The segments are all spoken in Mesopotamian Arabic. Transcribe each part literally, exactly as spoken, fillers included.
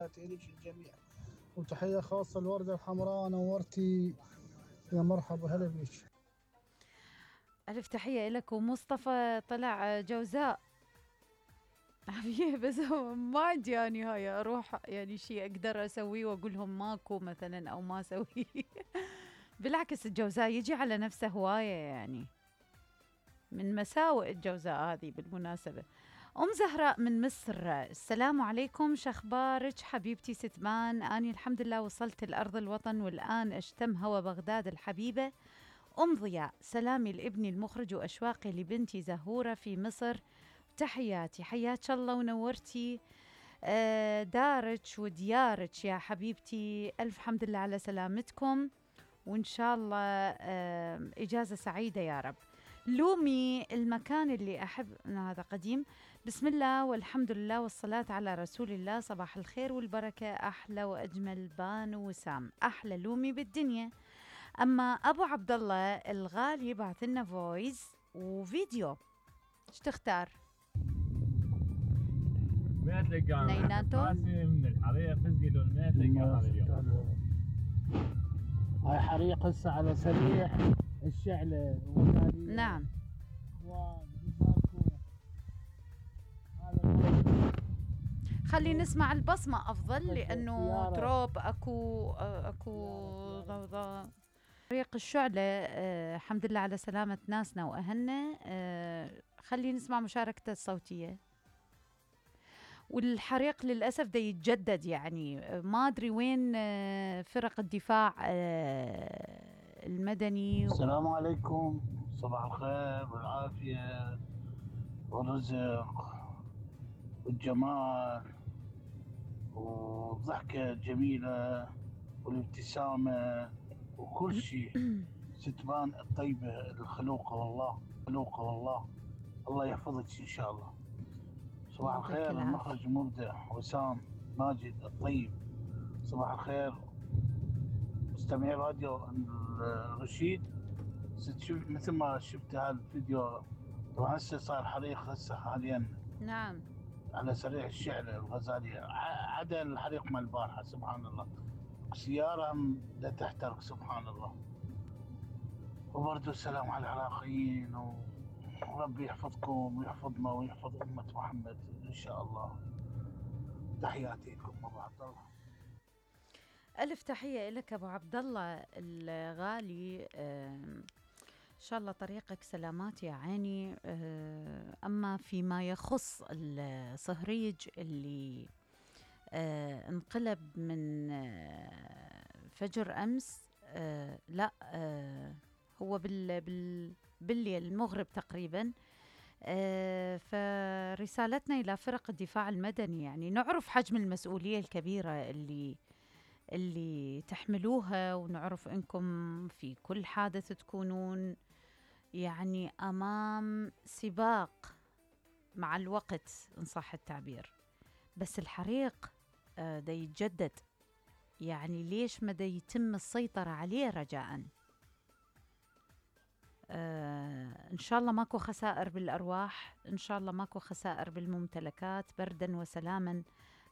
إليك الجميع، وتحية خاصة الوردة الحمراء. نورتي يا مرحبا، هلا بيك. ألف تحية لك. ومصطفى طلع جوزاء بس ما عندي يعني هاي أروح يعني شيء أقدر أسويه وأقول لهم ماكو مثلا أو ما أسويه. بالعكس الجوزاء يجي على نفسه هواية، يعني من مساوئ الجوزاء هذه بالمناسبة. أم زهراء من مصر، السلام عليكم، شخبارك حبيبتي ستمان؟ أني الحمد لله وصلت الأرض الوطن والآن أشتم هوا بغداد الحبيبة. أم ضياء، سلامي لابني المخرج وأشواقي لبنتي زهورة في مصر، تحياتي. حياك الله ونورتي دارك وديارك يا حبيبتي. ألف حمد لله على سلامتكم، وإن شاء الله إجازة سعيدة يا رب. لومي، المكان اللي أحب، هذا قديم. بسم الله والحمد لله والصلاة على رسول الله، صباح الخير والبركة، أحلى وأجمل بانو وسام، أحلى لومي بالدنيا. أما أبو عبد الله الغالي بعث لنا فويس وفيديو، ايش تختار؟ ما تلقى نيناتو من الحريق فزقي لون ما تلقى هذا اليوم. هاي حريق هسه على سريع الشعلة. نعم. خلي نسمع البصمة أفضل، لأنه تروب أكو أكو ضوضاء. حريق الشعلة، أه الحمد لله على سلامة ناسنا وأهلنا. أه خلي نسمع مشاركته الصوتية. والحريق للأسف دا يتجدد، يعني ما أدري وين فرق الدفاع المدني. السلام عليكم، صباح الخير والعافية والرزق والجمال والضحكة الجميلة والابتسامة وكل شيء. ستبان الطيبة الخلوقة والله، خلوقة والله. الله يحفظك إن شاء الله. صباح الخير المخرج المبدع وسام ماجد الطيب. صباح الخير مستمعي راديو الرشيد. ستشوف مثل ما شفت هذا الفيديو، طبعا هسه صار حريق هسه حاليا. نعم. على سريع الشعلة الغزالية، عدا الحريق مال البارحة سبحان الله. سيارة لا تحترق سبحان الله. وبرضو السلام على العراقيين، وربي يحفظكم ويحفظنا ويحفظ أمة محمد إن شاء الله. تحياتي لكم أبو عبد الله. ألف تحية لك أبو عبد الله الغالي. إن شاء الله طريقك سلامات يا عيني. أما فيما يخص الصهريج اللي انقلب من فجر أمس، لا هو بال بال بالليل المغرب تقريبا. فرسالتنا إلى فرق الدفاع المدني، يعني نعرف حجم المسؤولية الكبيرة اللي اللي تحملوها، ونعرف أنكم في كل حادث تكونون يعني أمام سباق مع الوقت إن صح التعبير. بس الحريق آه دا يتجدد، يعني ليش ما دا يتم السيطرة عليه رجاءً؟ آه إن شاء الله ماكو خسائر بالأرواح، إن شاء الله ماكو خسائر بالممتلكات، بردا وسلاما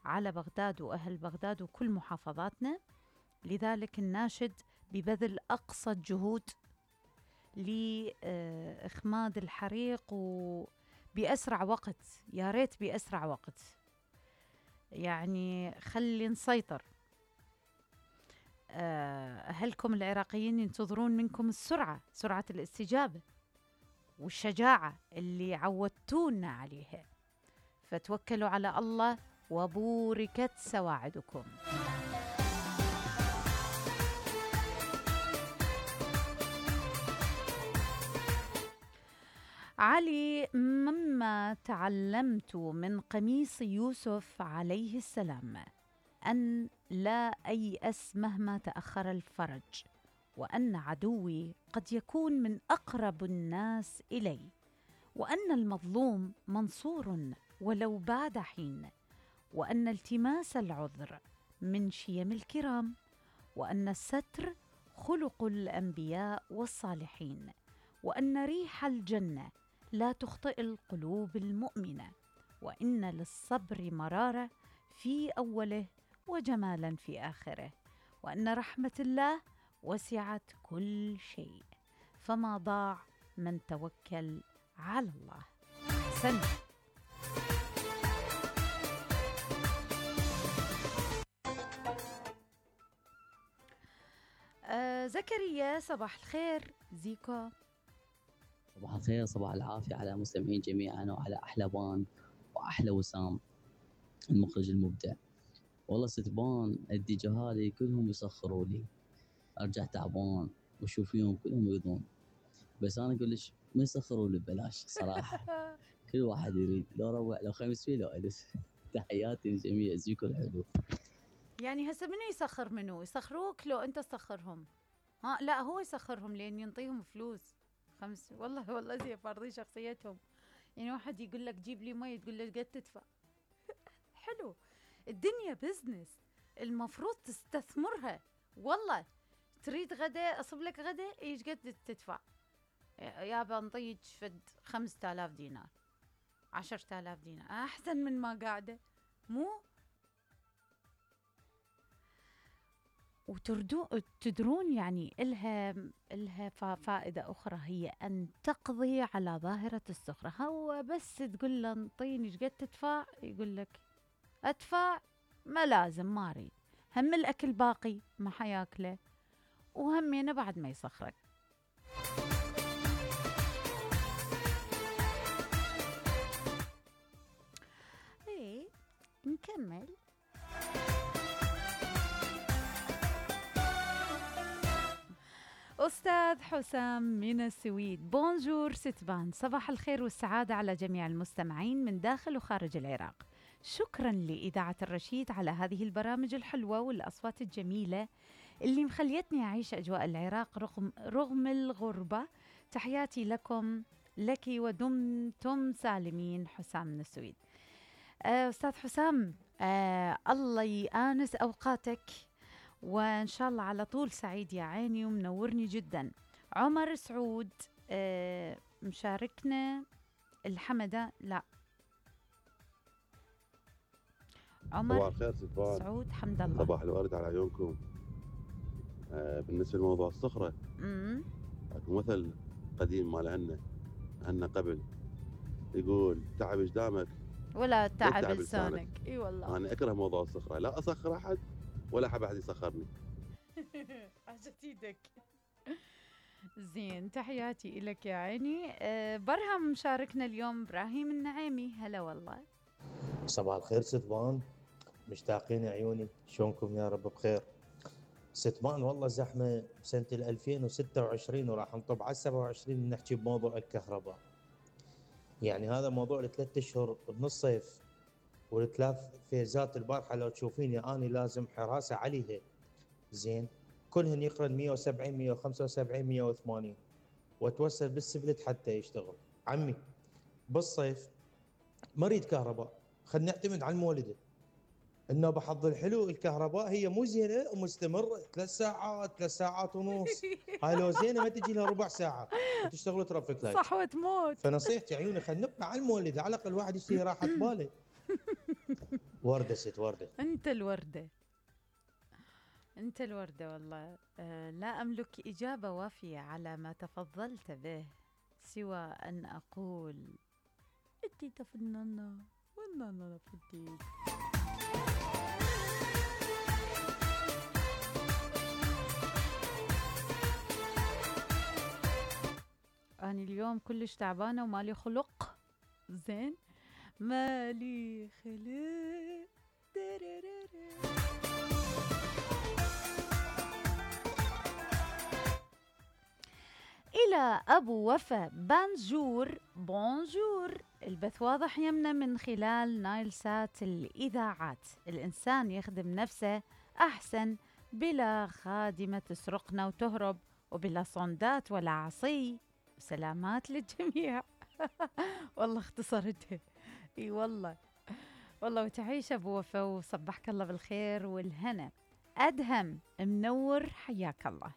على بغداد وأهل بغداد وكل محافظاتنا. لذلك الناشد ببذل أقصى الجهود لإخماد الحريق وبأسرع وقت، يا ريت بأسرع وقت، يعني خلي نسيطر. أهلكم العراقيين ينتظرون منكم السرعة، سرعة الاستجابة والشجاعة اللي عودتونا عليها، فتوكلوا على الله وبوركت سواعدكم. علي، مما تعلمت من قميص يوسف عليه السلام أن لا أيأس مهما تأخر الفرج، وأن عدوي قد يكون من أقرب الناس إلي، وأن المظلوم منصور ولو بعد حين، وأن التماس العذر من شيم الكرام، وأن الستر خلق الأنبياء والصالحين، وأن ريح الجنة لا تخطئ القلوب المؤمنة، وإن للصبر مرارة في أوله وجمالا في آخره، وأن رحمة الله وسعت كل شيء، فما ضاع من توكل على الله. سن آه زكريا صباح الخير. زيكو صباح الخير، صباح العافية على المستمعين جميعا، وعلى أحلى بان وأحلى وسام المخرج المبدع. والله ست بان الديجا هذه كلهم يسخروا لي، أرجع تعبان وأشوف فيهم كلهم يريدون، بس أنا أقول لك ما يسخروا لي ببلاش صراحة. كل واحد يريد، لو روع لو خمس فيه لو ألف. تحياتي للجميع، زيكو الحلو. يعني هسه منو يسخر منو؟ يسخروك لو أنت تسخرهم؟ ها لا، هو يسخرهم لأن ينطيهم فلوس. خمس والله والله زي فارضين شخصيتهم. يعني واحد يقول لك جيب لي مي، تقول له قد تدفع. حلو، الدنيا بزنس، المفروض تستثمرها. والله تريد غدا أصب لك غدا، ايش قد تدفع؟ يابا نطيج فد خمسة آلاف دينار، عشرة آلاف دينار، أحسن من ما قاعدة. مو وتردو تدرون يعني إلها إلها فائدة أخرى، هي أن تقضي على ظاهرة السخرة. هو بس تقول له انطيني ايش قد تدفع، يقول لك أدفع، ما لازم، ما أريد، هم الأكل باقي ما حياكله، وهمينه بعد ما يسخرك. ايه نكمل. أستاذ حسام من السويد، بونجور ستبان، صباح الخير والسعادة على جميع المستمعين من داخل وخارج العراق. شكرا لإذاعة الرشيد على هذه البرامج الحلوة والأصوات الجميلة اللي مخليتني أعيش أجواء العراق رغم, رغم الغربة. تحياتي لكم لك ودمتم سالمين. حسام من السويد. آه أستاذ حسام، آه الله يآنس أوقاتك، وإن شاء الله على طول سعيد يا عيني ومنورني جدا. عمر سعود آه مشاركنا الحمدة. لا عمر صباح الخير ست سعود حمد الله. صباح الورد على عيونكم. آه بالنسبة لموضوع الصخرة، امم اكو مثل قديم مال هنا هنا قبل يقول تعب اجدامك ولا تعب تعب لسانك. اي والله انا اكره موضوع الصخرة، لا اسخر احد ولا احب احد يسخرني. عجت ايدك. زين، تحياتي لك يا عيني. أه برهم مشاركنا اليوم ابراهيم النعيمي. هلا والله. صباح الخير ستبان، مشتاقين عيوني، شلونكم؟ يا رب بخير. ستبان والله زحمه سنه ألفين وستة وعشرين وراح نطب على سبعة وعشرين نحكي بموضوع الكهرباء. يعني هذا موضوع الثلاث اشهر من الصيف والثلاث فيزات البارحه لو تشوفيني اني لازم حراسه عليها. زين، كلهن يقرن مية وسبعين مية وخمسة وسبعين مية وثمانين، واتوسل بالسبلت حتى يشتغل. عمي بالصيف ما اريد كهرباء، خلينا نعتمد على المولده. انه بحظ الحلو الكهرباء هي مو زينه ومستمره ثلاث ساعات ثلاث ساعات ونص. هاي لو زينه ما تجي لها ربع ساعه وتشتغل ترافيك لايت. صح وتموت. فنصيحتي عيوني خلينا نبقى على المولده، على الاقل الواحد يشتري راحه باله. ورده ست ورده. انت الورده، انت الورده والله. أه لا املك اجابه وافيه على ما تفضلت به، سوى ان اقول انت فنانه والنانا فديك. أنا اليوم كلش تعبانة ومالي خلق. زين، مالي خلق. إلى أبو وفا بانجور، بونجور. البث واضح يمنا من خلال نايل سات الإذاعات. الإنسان يخدم نفسه أحسن بلا خادمة تسرقنا وتهرب، وبلا صندات ولا عصي. سلامات للجميع. والله اختصرتها. اي والله والله. وتعيش ابو وفا وصبحك الله بالخير والهنا. ادهم منور، حياك الله.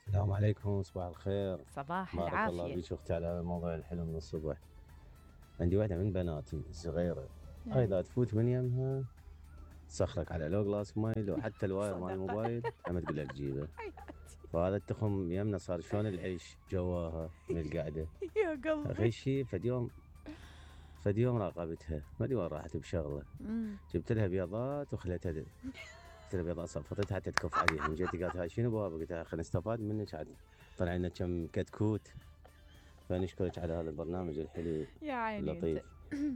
السلام عليكم، صباح الخير. صباح بارك العافيه. الله بيك اختي على هذا الموضوع الحلو من الصبح. عندي واحدة من بناتي صغيرة، هاي اذا تفوت من يمها تسخرك على لو جلاس ماي لو حتى الواير مال الموبايل هم تقول لك جيبه. فهذا التخم يمنا صار شلون العيش جواها من القعده. يا قلبي اخي شيء فد يوم فد يوم راقبتها ما ادري وين راحت بشغله. جبت لها بيضات وخليتها د- جبت لها بيضات صفطتها حتى تكف عليها. جيت قالت هاي شنو بابا؟ قلت لها خلينا نستفاد منك عاد طلع لنا كم كتكوت. فنشكرك على هذا البرنامج الحلو يا عيني اللطيف.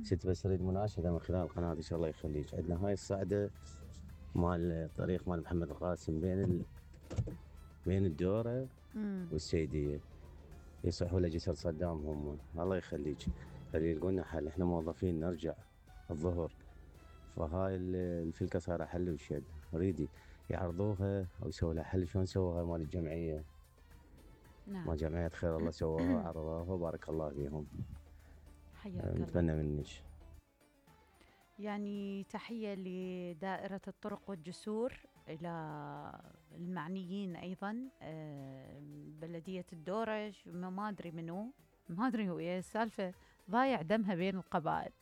ست بس اريد مناشده من خلال القناه ان شاء الله يخليك. عندنا هاي الصعده مال الطريق مال محمد القاسم بين ال... بين الدوره مم. والسيديه يصحوا لجسر صدام هم. الله يخليك خلي يلقوا حل. احنا موظفين نرجع الظهر فهاي ال- الفلكه صايره حل وشد. اريدي يعرضوها او يسووا لها حل. شلون سووها مال الجمعيه نعم مال جمعيه خير الله سووها عرضوها بارك الله فيهم. حياك الله. نتمنى منك. يعني تحية لدائرة الطرق والجسور إلى المعنيين أيضا آه، بلدية الدورش ما ما أدري منو ما أدري هو إيه السالفة ضايع دمها بين القبائل.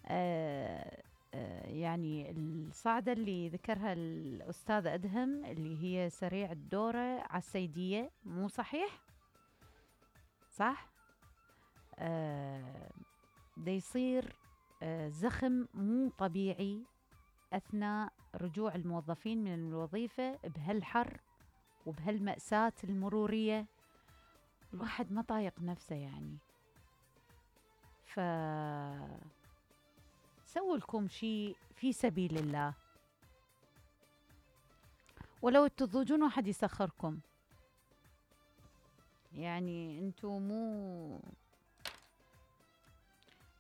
آه، آه، يعني الصعدة اللي ذكرها الأستاذ أدهم اللي هي سريع الدورة على السيدية مو صحيح؟ صح؟ آه، دا يصير آه، زخم مو طبيعي أثناء رجوع الموظفين من الوظيفة بهالحر وبهالمأساة المرورية. الواحد ما طايق نفسه يعني. ف سووا لكم شيء في سبيل الله ولو تضوجون واحد يسخركم. يعني انتو مو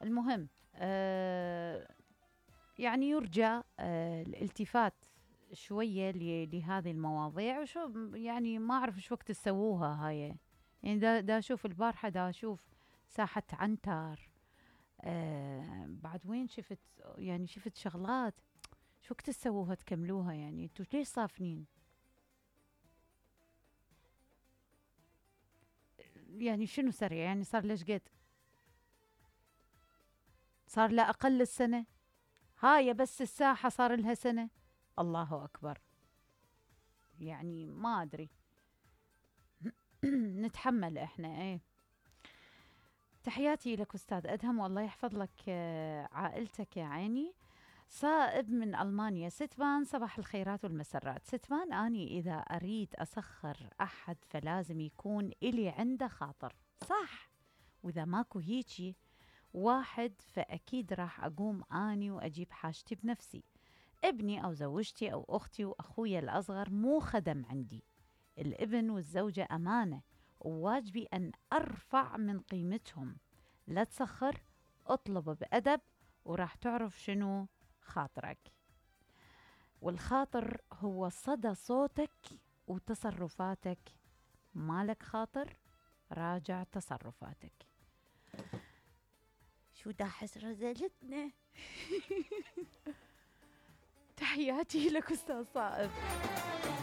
المهم آه يعني يرجى آه الالتفات شوية ل- لهذه المواضيع. وشو يعني ما أعرف شو وقت تسووها هاي. يعني دا, دا أشوف البارحة دا أشوف ساحة عنتر آه بعد وين شفت يعني شفت شغلات. شو وقت تسووها تكملوها يعني انتو ليش صافنين؟ يعني شنو سريع يعني صار ليش قد صار لا أقل السنة هاي بس الساحة صار لها سنة. الله أكبر يعني ما أدري. نتحمل إحنا إيه. تحياتي لك أستاذ أدهم والله يحفظ لك آه، عائلتك يا عيني. صائب من ألمانيا. ستبان صباح الخيرات والمسرات. ستبان أني إذا أريد أسخر أحد فلازم يكون إلي عنده خاطر صح. وإذا ماكو هيجي واحد فأكيد راح أقوم أني وأجيب حاجتي بنفسي. ابني أو زوجتي أو أختي وأخويا الأصغر مو خدم عندي. الابن والزوجة أمانة وواجبي أن أرفع من قيمتهم. لا تسخر اطلب بأدب وراح تعرف شنو خاطرك. والخاطر هو صدى صوتك وتصرفاتك. مالك خاطر راجع تصرفاتك. شو داحس رزلتنا. تحياتي لك أستاذ صائب.